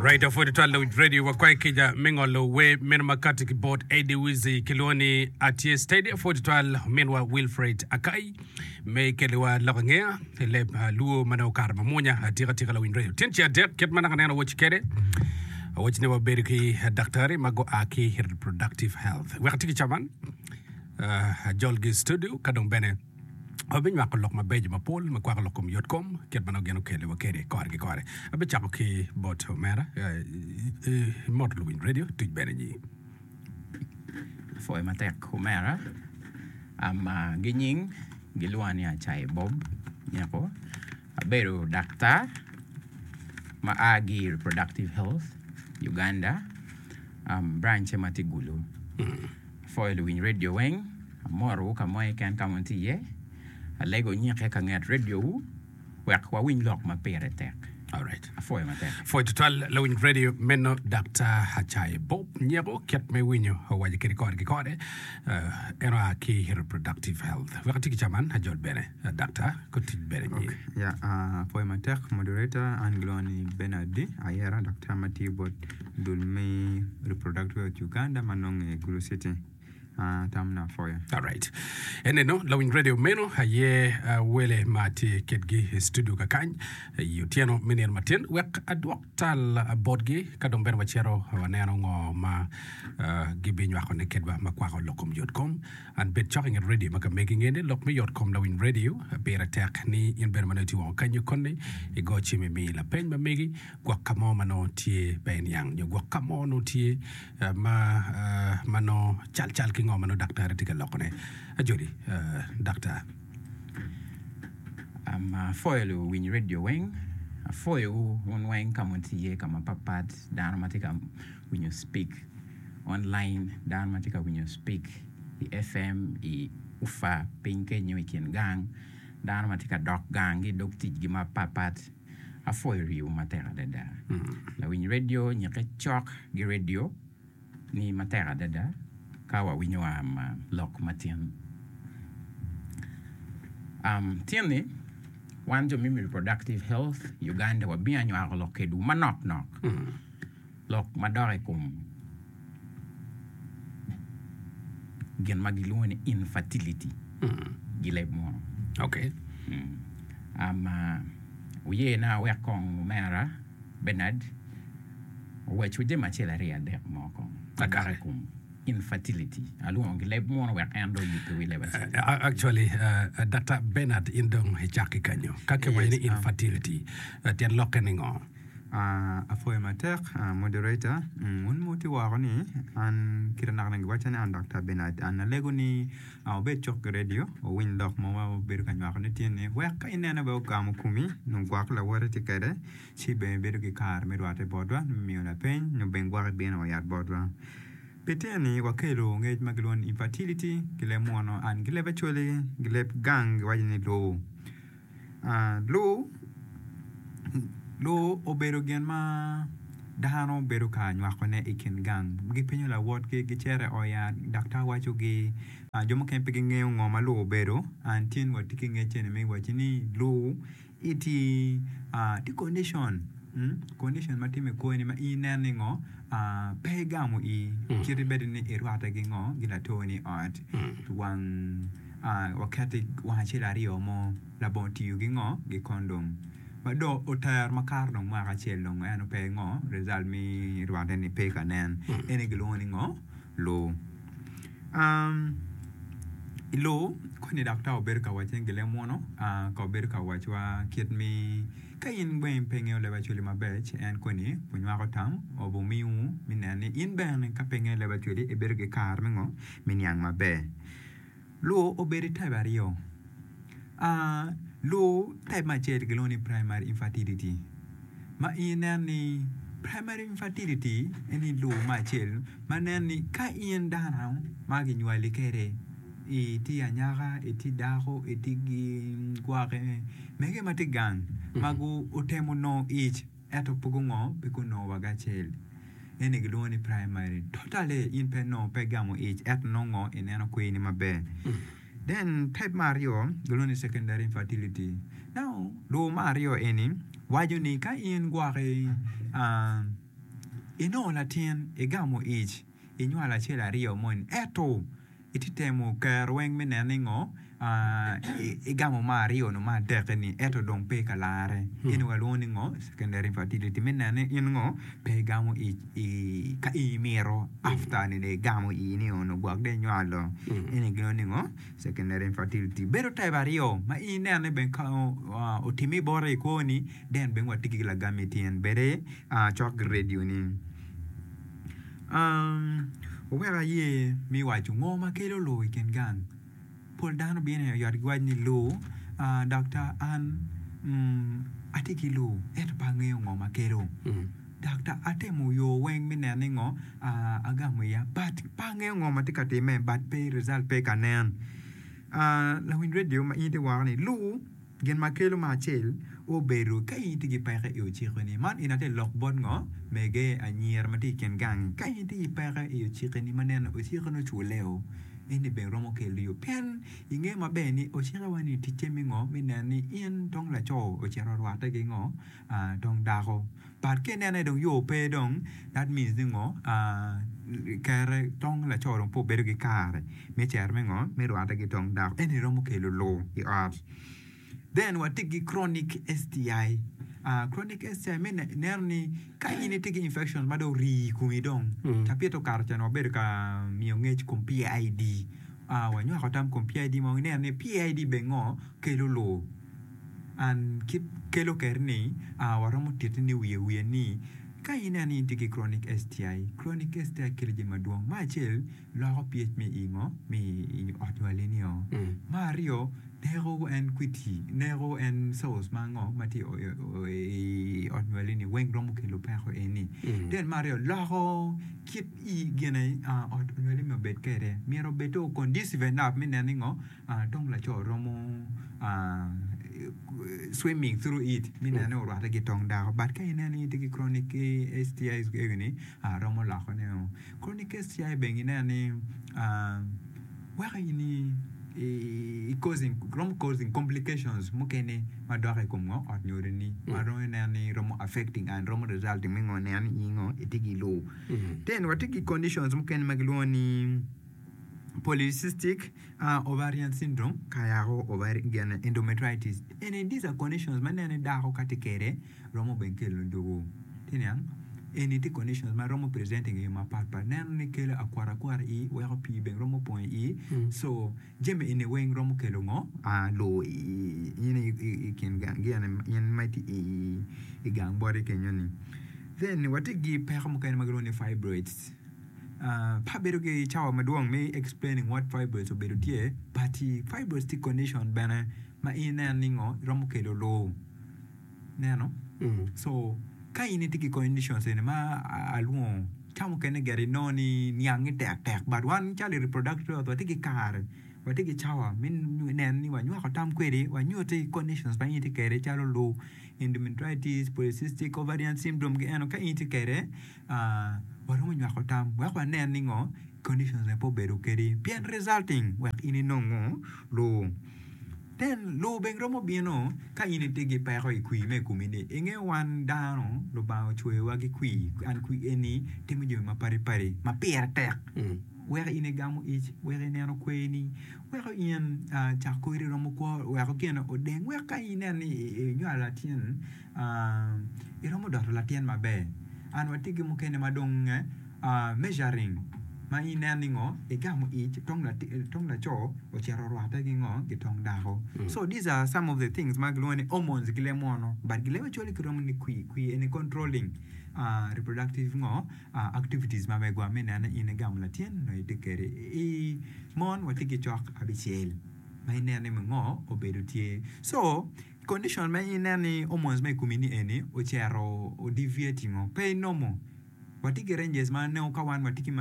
Alright, apwod twal lawinj radio wakwayo kica me ngolo wer meno ma kati ki bot Eddie Wizzy kilwongo ni Atye Steady. Apwod twal ominwa Wilfred Akai me keliwa lok angeya i leb ah, luo ma nongo okato mamwonya atika tika lawinj radio. Tyen ce adek kit ma naka neno awoci kede awoci ni wabedo ki daktari ma gua ki reproductive health. Wek ati ki caman ah, ajolgi i studio ka dong bene Wabinywako lok mabeco mapol ma kwako lok kom yotkom kit ma nongo gin okeliwa kwede kore ki kore. Abicako ki bot omera imot luwiny redio tuc bene nyi. Apwoyo matek omera ama gi nying gilwonga ni Acaye Bob Nyeko abedo daktar ma a ki i Reproductive Health Uganda branch-ce ma tye Gulu. Apwoyo luwiny redio weng, amorowu ka mo keken ka ma wutye iye. Alego wunyikke ka nget rediowu wek wawiny lok ma pire tek. Alright. Apwoyo matek. Pwoyo tutwal lawiny radio meno Daktar Acaye Bob Nyeko kit me winyo owaco kede kore ki kore eh, en oa ki reproductive health. Wek ati ki caman ajol bene eh, Daktar ko tic bene nyi. Okay. Yeah, uh, apwoyo matek moderator an gilwongo ni Bernard Ayera daktar ma tiyo bot Dul me Reproductive Health Uganda ma nonge i Gulu City. Tamna apwoyo. Alright. Eneno lawiny radio meno aye uh, wele ma atye kedgi i studio kakany i otyeno me nino matin wek adwok tal uh, botgi ka dong bene wacito waneno ngo ma uh, gibinywakone kedwa ma kwako lok kom yotkom. An bed cok i nget radio ma ka megi ngene lok me yotkom lawiny radio pire tek ni in bene ma nongo itye woko kanyo koni igo cim imi lapeny ma megi gwok ka mo ma nongo tye pe iniang nyo gwok ka mo nongo tye ma ma nongo cal cal ki ngo ma nongo daktari tye ka lokone. Ajoli, daktar. Apwoyo luwiny redio weng, apwoyowu wun weng ka ma wutye iye ka mapatpat, dano ma tye ka winyo speak online, dano ma tye ka winyo speak i FM, i ufa piny kenyo i kin gang, dano ma tye ka dok gang ki i dog ticgi mapatpat. Apwoyo riwo matek adada. Lawiny redio nyikke cok gi redio ni matek adada ka wawinyo lok matin. Tin ni wan jo me Reproductive Health Uganda wabino anywako lok kedwu manok nok. Lok madok i kom gin ma gilwongo ni infertility gi leb munu. Okay. Um, wuye na awek kong omera Bernard owacwu jami acel aryo adek mo kong madok i kom infertility. Alwongo gi leb munu wek en dong oyubbe wi leb acel. Actually, uh, Dr. Bernard in dong icak ki kanyo. Ka kiwaco ni Yes, um, infertility, uh, tyen lokke ni ngo? Apwoyo matek moderator, wun ma wutye woko ni an kite naka naka giwacca ni an Daktar Bernard an alego ni wubed cok ki radio wuwiny lok mo ma wabedo ka nywako ne tye ni wek ka inene bene ogamo komi nyo gwok lawote tye kwede ci bene ibedo ki kare me rwate botwa me miyo lapeny nyo bene gwok ibino wa yat botwa. Pi tye ni wakelo ngec ma gilwongo ni infertility ki leb munu and ki leb acholi ki leb gang giwaco ni lowo. Lur obedo gin ma dano bedo ka nywakone i kin gang gipenyo lawotgi gicito i ot yat daktar wacogi jo mukene pe gingeyo ngo ma lur obedo and tin watye ki ngec eni me wacci ni lur tye condition condition ma timme i kwoni ma in ineno ni ngo pe igamo ii kit bed ni irwatte ki ngo ki latoni i ot wang waketi wang acel aryo mo labongo tiyo ki ngo ki kondom ma dong otero makato dong mwaka acel dong eno pe ngo result me rwate ni pe ka nen ene gilwongo ni ngo lur i lur koni daktar obedo ka wacci ni gilem munu ka obedo ka wacwa kit me ka in bene pe ingeyo leb acholi maber ci en koni onywako tam obumiwu me neno ni in bene ka pe ingeyo leb acholi ibedo ki kare me ngo me niang maber. Lur obedo i type aryo. Lur type me acel kilwongo ni primary infertility ma in ineno ni primary infertility en ni lur me acel ma nen ni ka in dano ma kinywali kwede itye anyaka, itye dako, itye ki gwake mege ma tye gang ma gutemo nongo ic Ento pe gungo, pe gunongo wa gacel. Eni gilwongo ni primary. Totally in pe inongo pe igamo ic ento nongo ineno kweri ni maber. Then type me aryo gilwongo ni secondary infertility. Now lur me aryo eni waco ni ka in gwoki ah. Inongo latin, igamo ic, inywalo acel aryo moni ento itye temo kero weng me neno ni ngo igamo me aryo nyo me adek-ki ni ento dong pe ka larre eni walwongo ni ngo secondary infertility me neno ni in ngo pe igamo ic ka in imito after ni dong igamo ii ni onongo gwok dong inywalo eni gilwongo ni ngo secondary infertility. Bedo type aryo ma in ineno ni bene ka otimme boti i kwoni then bene watye ki lagam i tyen bede cok ki radio ni. Wuwek aye me waco ngo ma kelo lur i kin gang. Pol dano bino i ot giwaco ni lur, daktar an atye ki lur ento pe angeyo ngo ma kelo. Daktar atemo yo weng me neno ni ngo agamo iya but pe angeyo ngo ma tye ka timme but pe result pe ka nen. Lawiny radio ma in itye woko ni lur. Gin ma kelo me acel obedo ka in itye ki peko i ocikoni. Man eni atye lok bot ngo? Mege, anyira ma tye i kin gang. Ka in itye ki peko i ocikoni ma neno ocikoni oculle-o, eni bene romo kelo yo. Pien ingeyo maber ni ocikewa ni ticce me ngo? Me neno ni in dong laco ocito orwatte ki ngo? Dong dako. But ka inene dong yo pe dong, that means ni ngo? Kere tong laco dong pe obedo ki kare me cito me ngo? Me rwatte ki tong dako. Eni romo kelo lur i ot. Then watye ki chronic STI. Chronic STI me neno ni ka in itye ki infection ma dong orii i komi dong, cabit okato ca wabedo ka miyo ngec i kom PID. Wanywako tam i kom PID ma waneno ni PID bene ngo? Kelo lur. And kit kelo keri ni waromo titi ni wiye wiye ni ka ineno ni in itye ki chronic STI, chronic STI kelo jami madwong. Me acel loko pH me i ngo me i ot nywali ni o. Me aryo neko en kwiti neko en cells ma ngo ma tye i ot nywali ni weng romo kelo peko eni. Then me aryo loko kit i gine ot nywali ni obed kwede myero obed o conducive enough me neno ni ngo Dong laco romo swimming through it me neno ni orwatte ki tong dako but ka ineno ni itye ki chronic STIs egi ni romo loko ne o. Chronic STI bene ineno ni weko in i causing romo causing complications mukene madok i kom ngo ot nyodo ni ma romo ineno ni romo affecting and romo resulting me ngo neno ni in ngo itye ki lur. Then watye ki conditions mukene ma gilwongo ni polycystic ovarian syndrome ka yako ovarian endometritis eni these are conditions ma ineno ni dako ka tye kwede romo bene kelo dwogo itye niang eni tye conditions ma romo presenting i yo mapat pat ineno ni kelo akwata akwata i weko pii bene romo pong i so jami eni weng romo kelo ngo loo i kin in ma itye i gang boti kenyo ni then watye ki peko mukene ma gilwongo ni fibroids. Pe abedo ki cawa madwong me explaining what fibroids obedo tye but fibroids tye condition bene ma in ineno ni ngo romo kelo lur ineno so ka in itye ki conditions eni ma alwongo ca mukene gire inongo ni niangi tek tek but wan calo i reproductive health watye ki kare watye ki cawa me neno ni wanywako tam kwedi wanyuti conditions ma in itye kwede calo lur endometritis, polycystic ovarian syndrome gi eno ka in itye kwede Waromo nywako tam wek wanen ni ngo conditions ne pe obedo kedi pien resulting wek in inong ngo lur. Then lur bene romo bino ka in itye ki peko i kwir me i komi ni inge wan dano Lubanga ocweyo wa ki kwir and kwir eni timo jami mapadi padi ma pire tek weko in igamo ic weko ineno kwer ni weko in cak kori romo kwo weko gine odeng wek ka in ineno ni inywalo latin Iromo doto latin maber. And watye ki mukene ma dong measuring ma ineno ni ngo igamo ic tong laco ocito orwatte ki ngo ki tong dako. So these are some of the things ma gilwongo ni hormones ki leb munu but gileb actually kiromo ni kwir kwir eni controlling reproductive ngo activities ma megwa me neno ni in igamo latin nyo itye kwede. I mon watye ki cok abicel ma ineno ni ngo obedo tye. So Condition ma ineno ni hormones ma i komi ni eni ocito o deviating o pe inomo watye ki ranges ma nongo ka wan watye ki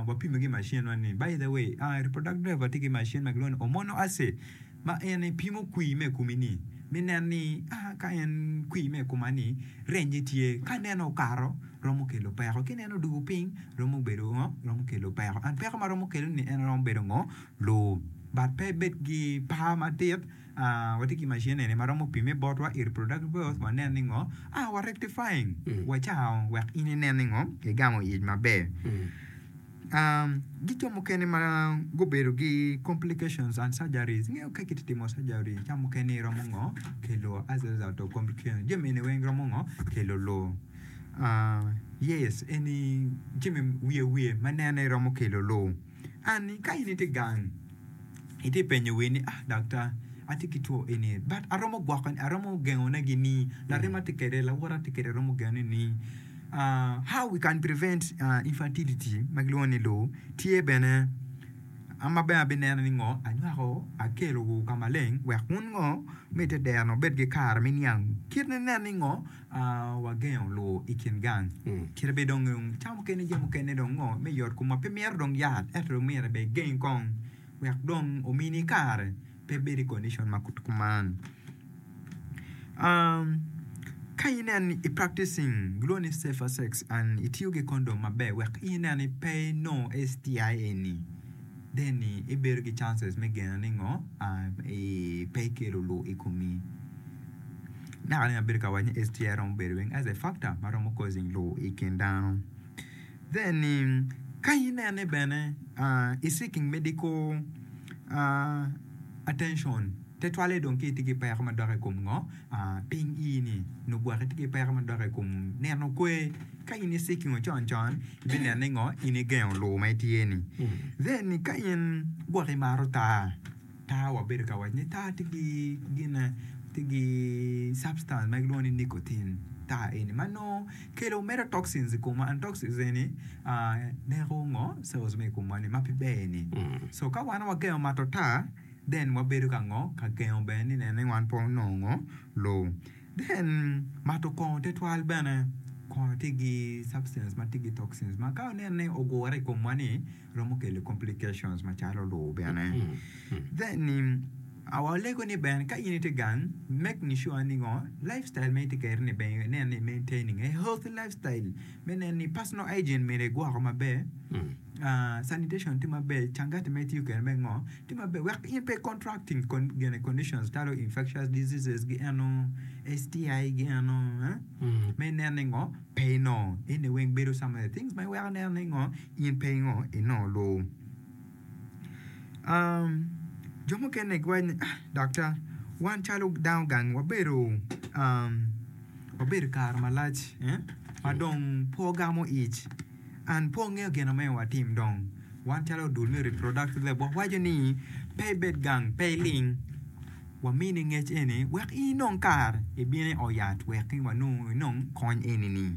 wapimo ki machine wa ni by the way reproductive health watye ki machine ma kilwongo ni hormonal assay ma en pimo kwir ma i komi ni me neno ni ka en kwir ma i koma ni range tye ka ineno okato romo kelo peko ka ineno odwogo piny romo bedo ngo romo kelo peko and peko ma romo kelo ni en romo bedo ngo lur but pe ibed ki par madit. Watye ki macin eni ma romo pime botwa i reproductive health wanen ni ngo ah wa rectifying wacango wek in inen ni ngo igamo ic maber. Ki jo mukene ma gubedo ki complications and surgeries ingeyo ka kitye timo surgery ca mukene iromo ngo kelo as a result of complications jami eni weng romo ngo kelo loo. Yes eni jami wiye wiye ma nene romo kelo loo. And ka in itye gang itye penyo wii ni ah daktar atye ki two eni but aromo gwoko aromo gengone gi ni larema tye kwede lawota tye kwede aromo gengone ni how we can prevent infertility ma gilwongo ni loo tye bene ma bene abineno ni ngo anywako akelo wu ka maleng wek wun ngo me ite derno wubed ki kare me niang kit me neno ni ngo Wagengo lur i kin gang. Kite bene dong ca mukene jami mukene dong ngo me yot komwa pe mito dong yat ento dong myero bene igeng kong wek dong omini kare pe ibed i condition ma kuman. Ka inen ni i practicing gilwongo ni safer sex and itiyo ki condom maber wek inen ni pe inongo STI eni then ibedo ki chances me geno ni ngo pe ikelo lur i komi. Naka ni abedo ka waco ni STI romo bedo weng as a factor ma romo causing lur i kin dano. Then ka inene bene i seeking medical attention tetwalle dong ka itye ki peko madok i kom ngo piny ii ni nyo gwok itye ki peko madok i kom neno kwer ka in i seeking con con ibineno ni ngo in igengo lur ma itye ni. Then ka in gwok imato taa. Taa wabedo ka waco ni taa tye ki gine tye ki substance ma gilwongo ni nicotine taa eni ma nongo kelo medo toxins i komwa and toxins eni neko ngo cells me i komwa ni ma pe ber ni so ka wan wagengo mato taa then wabedo ka ngo ka gengo bene ni neno ni wan pe wanongo loo then mato kongo tutwal bene kongo tye ki substance ma tye ki toxins ma ka ineno ni ogure i komwa ni romo kelo complications macalo lur bene. Then walego ni bene ka in itye gang making sure ni ngo lifestyle ma itye kwede ni bene inen ni maintaining a healthy lifestyle me neno ni personal hygiene myero igwoko maber, sanitation tye maber, cangati ma itiyo kwede me ngo tye maber wek in pe i contracting gine conditions calo infectious diseases gi eno, STI gi eno me inen ni ngo pe inongo eni weng bedo some of the things ma iweko ineno ni ngo In pe ingo inongo lur. Um, jo mukene giwaco ni, ah, daktar, wan calo dano gang wabedo, um, wabedo kare malac, eh, ma dong pe wagamo ic, and pe wangeyo gin ma myero watim dong. Wan calo dul me reproductive health wawaco ni pe ibed gang, pe iling. Wamini ngec eni wek in inong kare ibin i ot yat wek wanong inong kony eni ni.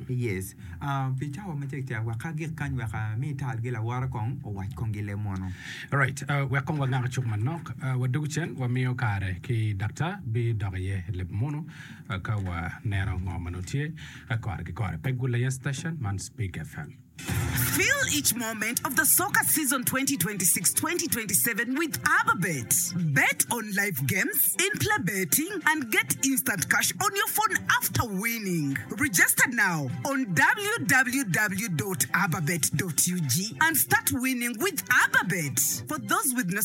Yes. Ah, pi cawa macek cek wek agik kany wek ami tal gi lawota kong owac kong gi leb munu. Alright, uh, wek kong wangak cuk manok. Uh, wadwogo cen wamiyo kare ki daktar bidok iye i leb munu uh, ka waneno ngo ma nongo tye uh, kore ki kore. Pe gul aye station man Speak FM. Feel each moment of the soccer season 2026-2027 with Ababet. Bet on live games, in-play betting, and get instant cash on your phone after winning. Register now on www.ababet.ug and start winning with Ababet. For those with no.